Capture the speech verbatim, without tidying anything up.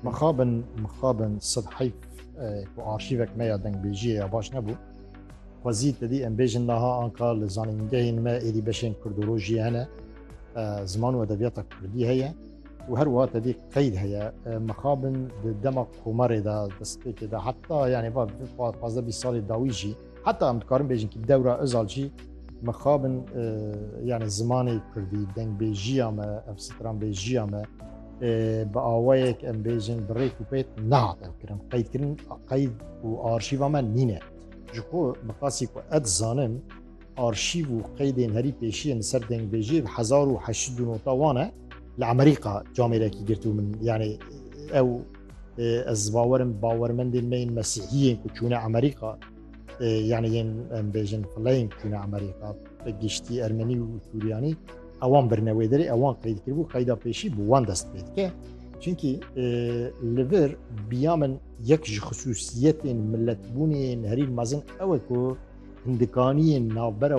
Mixabin, mixabin sed heyf, e, ku arşîvek me ya dengbêjiyê ya baş nebû. Xwezî te dî em bêjin niha anka li zanîngehên me êdî beşên kurdolojiyê hene, e, ziman û edebiyata kurdî heye û her wiha te dî qeyd heye. E, mixabin di dema Komarê de, destpêkê de, heta, yani, va, va, pazdeh bîst salê dawî jî, heta em dikarin bêjin ki dewra Özal jî mixabin, e, yani, zimanê kurdî, dengbêjiya me, ev stranbêjiya me, e, bi awayek em bêjin bi rêk û pêk nehat ev kirin. Qeydkirin, qeyd û arşîva me nîne. Ji xwe miqasî ku ez dizanim, arşîv û qeydên herî pêşî yên li ser dengbêjiyê bi hezar û heşt sed û newid wan e. Li Amerîka camêrekî girtibû min. Yani ew, e, ez bawerim bawermendên me yên mesîhiyên ku çûne Amerîka, e, yani yên, em bêjin, fileyên ku çûne Amerîka, bi giştî ermenî û suryanî, ewan birine wê derê, ewan qeyd kiribû, qeyda pêşî bi wan dest pê dike. Çimkî, e, li vir biya min yek ji xisûsiyetên miletbûnê yên herî mezin ew e ku hindikaniyên navbera